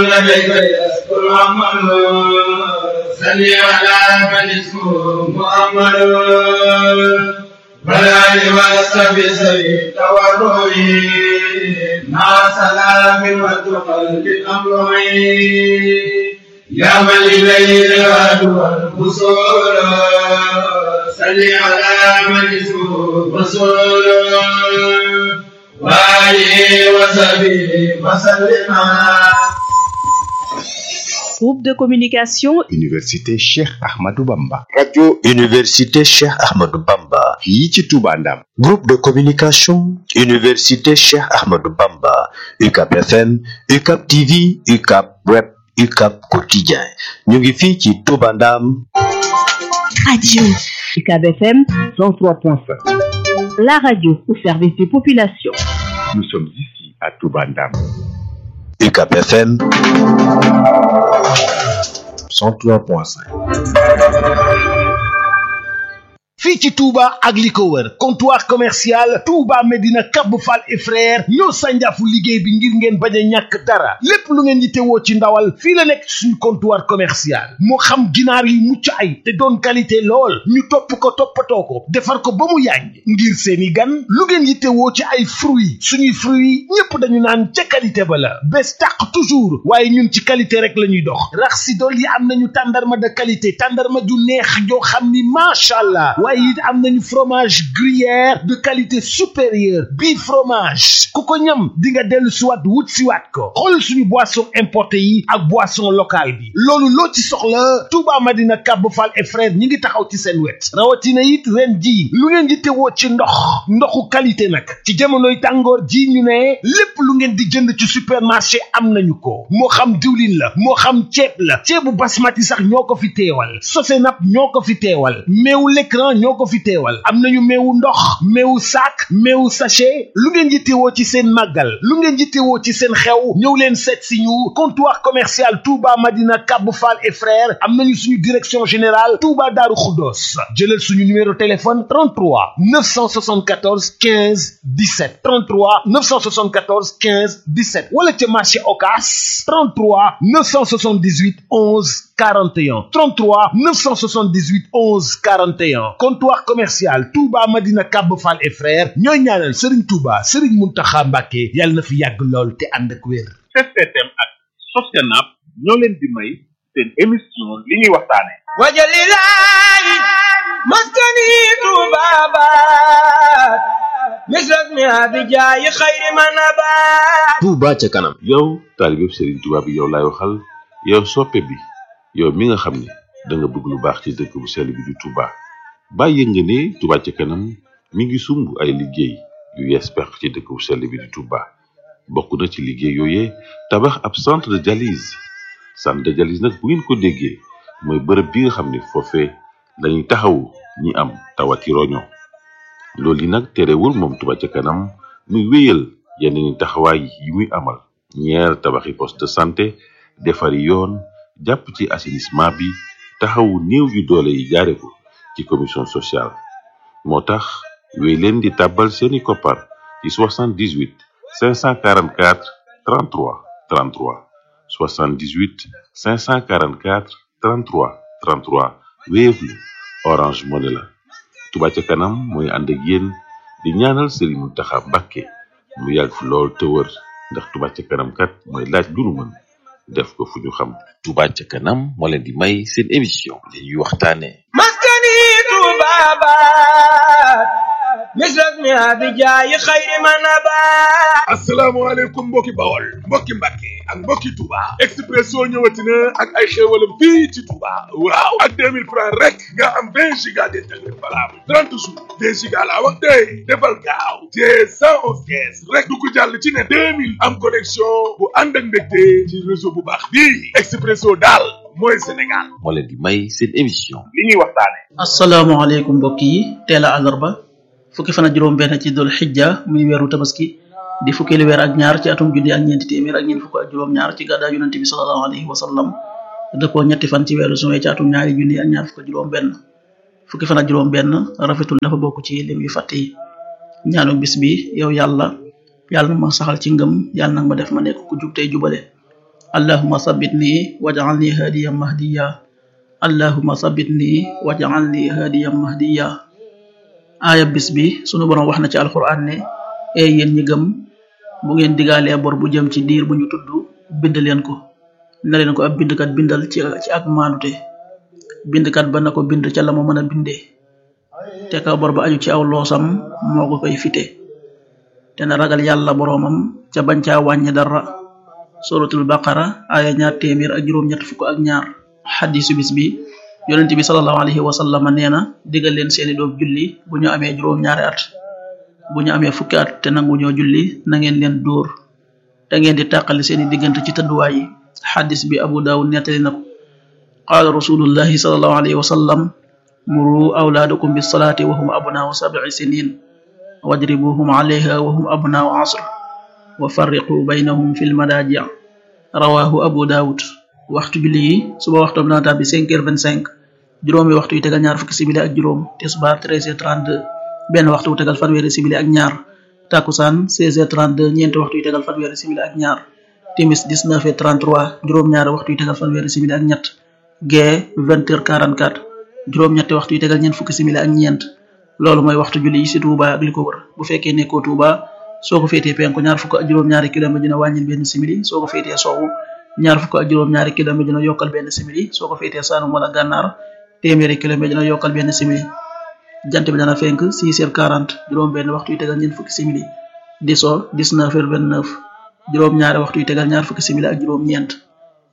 لديك يذكر عمل صل على من اسمه محمد والآل والصحب سوي تورعي مع سلام وتقل بالأمر يا من إليه الغد والبصور صل على من اسمه رسول وآله وصحبه وسلم. Groupe de communication Université Cheikh Ahmadou Bamba. Radio Université Cheikh Ahmadou Bamba. fii ci Touba Ndam. Groupe de communication Université Cheikh Ahmadou Bamba. UCAP FM, UCAP TV, UCAP Web, UCAP Quotidien. ñu ngi fii ci Touba Ndam. Radio UCAP FM 103.5. la radio au service des populations. Nous sommes ici à Touba Ndam. UCAP FM 103.5. fii ci Touba ak li ko wër comptoir commercial Touba Medina Cap Fall et frère ñoo sànjaafu liggéey bi ngir ngeen bañ a ñàkk dara lépp lu ngeen yittewoo ci ndawal fii la nekk suñu comptoir commercial moo xam ginaar yi mucc ay te doon qualité lool ñu topp ko toppatoo ko defar ko ba mu yàññ ngir seeni gan lu ngeen yittewoo ci ay fruits suñuy fruits ñépp dañu naan ca qualité ba la bés tàq toujours waaye ñun ci qualité rek la ñuy dox rax si dool yi am nañu tàndarma de qualité tàndarma ju neex joo xam ni macha allah waaye it am nañu fromage gruyère de qualité supérieure bii fromage ku ko ñam di nga dellu siwaat wut siwaat ko xool suñu boisson importé yi ak boisson locale bi loolu loo ci soxla Touba Madina Cap Fall et frère ñi ngi taxaw ci seen wet rawatina it ren ji lu ngeen di tewoo ci ndoxu qualité nag ci jamonoy tàngoor ji ñu ne lépp lu ngeen di jënd ci supermarché am nañu ko moo xam diwlin la moo xam ceeb la ceebu basmati sax ñoo ko fi teewal Sosenap ñoo ko fi teewal meewu l'écran ñoo ko fi teewal am nañu meewu ndox meewu sac meewu sachet lu ngeen yittewoo ci seen màggal lu ngeen yittewoo ci seen xew ñëw leen seet si ñu comptoir commercial Touba Madina Cap Fall et frères am nañu suñu direction générale Touba Darou Khoudoss jëlal suñu numéro téléphone 33 974 15 17 33 974 15 17 wala ca marché Ocass 33 978 11 41 33 978 11 41 comptoir commercial Touba Madina Cap Fall et frères ñooy ñaanal Serigne Touba Serigne Mountakha Mbacké yàlla na fi yàgg lool te ànd ak wér. STM ak Sosenap ñoo leen di may seen émission li ñuy waxtaane wajalilahi maskani tubabat misras mi abijaayi xayri manabat. Touba ca kanam. yow taalibe Serigne Touba bi yow laay waxal yow soppe bi yow mi nga xam ne da nga bëgg lu baax ci dëkk bu sell bi di Touba bàyyi nga ne Touba ca kanam mi ngi sumb ay liggéey yu yees peq ci dëkk bu sell bi di Touba bokk na ci liggéey yooyee tabax ab centre de dialyse nag bu ngeen ko déggee mooy bërëb bi nga xam ne foofee lañuy taxawu ñi am tawati roño loolu yi nag terewul moom Touba ca kanam muy wéyal yeneen taxawaay yi muy amal ñeer tabaxi poste de santé defari yoon jàpp ci assainissement bi taxawu néew yu doole yi jaare ko ci commission sociale moo tax wéy leen di tàbbal seeni koppar ci 78 544 33 33 78 544 33 33 Wave la Orange Money la Touba ca kanam mooy ànd ak yéen di ñaanal Serigne Mountakha Mbacké mu yàgg fi lool te wër ndax Touba ca kanam kat mooy laaj lu nu mën def ko fu ñu xam. Touba ca kanam moo leen di may seen émission li ñuy waxtaane maskani tubabat misras mi abijaayi xayri manabat. asalaamaaleykum mbokki Bawol mbokki Mbàkke ak mbokki Touba Expresso ñëwati na ak ay xéewalam fii ci Touba waaw ak 2000 francs rek nga am 20 giga d'internet valable 30 jours 2 giga laa wax tey defal gaaw te 111 kees rek du ko jàll ci ne 2000 am connexion bu ànd ak mbégte ci réseau bu baax bii Expresso daal mooy Sénégal moo leen di may seen émission li ñuy waxtaane. asalaamaaleykum mbokk yi teel a àllarba fukki fan ak juróom benn ci dul xijja muy weeru tabaski di fukkeelu weer ak ñaar ci atum junni ak ñeenti téeméer ak ñeent fukk ak juróom ñaar ci gàddaa yonente bi sallallahu alayhi wa sallam dëppoo ñetti fan ci weeru juin ci atum ñaari junni ak ñaar fukk ak juróom benn fukki fan ak juróom benn rafetul dafa bokk ci lim yu fàtte yi ñaanu bis bi yow yàlla na ma saxal ci ngëm yàlla nag ma def ma nekk ku jub tey jubale allahumma sabbitni waj'alni hadiyan mahdiya allahumma sabbitni waj'alni hadiyan mahdiya. aaya bis bi sunu borom wax na ci alquran ne yéen ñi gëm bu ngeen digaalee bor bu jëm ci diir bu ñu tudd bind leen ko na leen ko ab bindkat bindal ci ak maanute bindkat ba na ko bind ca la mu mën a bindee te ka bor ba aju ci aw loosam moo ko koy fite te na ragal yàlla boroomam ca bañ caa wàññi dara. suratul baqara aaya 282. xadisu bis bi yonent bi sallallahu alayhi wa sallam nee na digal leen seeni doom julli bu ñu amee juróom-ñaari at bu ñu amee fukki at te nangu ñoo julli na ngeen leen dóor te ngeen di tàqali seeni diggante ci tëdduwaay yi. xadis bi abu daawud nettali na ko qaala rasulullahi sallallahu alayhi wa sallam muru awlaadakum bis salaati wa hum abnaau 7 sinin wadribuhum alayha wa hum abnaau 10 wa farriqu baynahum fil madaaji' rawahu abu daawud. waxtu julli yi suba waxtoom dana tàbbi 5h25 juróomi waxtu yu tegal ñaar fukki simili ak juróom tisbaar 13h32 benn waxtu wu tegal fanweeri simili ak ñaar takusaan 16h32 ñeenti waxtu yu tegal fanweeri simili ak ñaar timis 19h33 juróom-ñaari waxtu yu tegal fanweeri simili ak ñett gee 20h44 juróom-ñetti waxtu yu tegal ñeent fukki simili ak ñeent. loolu mooy waxtu julli yi ci Touba ak li ko wër. bu fekkee nekkoo Touba soo ko féetee penku ñaar fukk ak juróom-ñaari kilomètre dina wàññil benn simili soo ko féetee sowwu ñaar fukk ak juróom-ñaari kilomètre dina yokkal benn simili soo ko féetee Saalum wala Gànnaar téeméeri kilomètre dina yokkal benn simili. jant bi dana fenk 6h40 juróom benn waxtu yu tegal ñeent fukki simili di so 19h29 juróom-ñaari waxtu yu tegal ñaar fukki simili ak juróom-ñeent.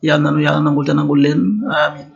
yàlla nanu yàlla nangul te nangul leen amin.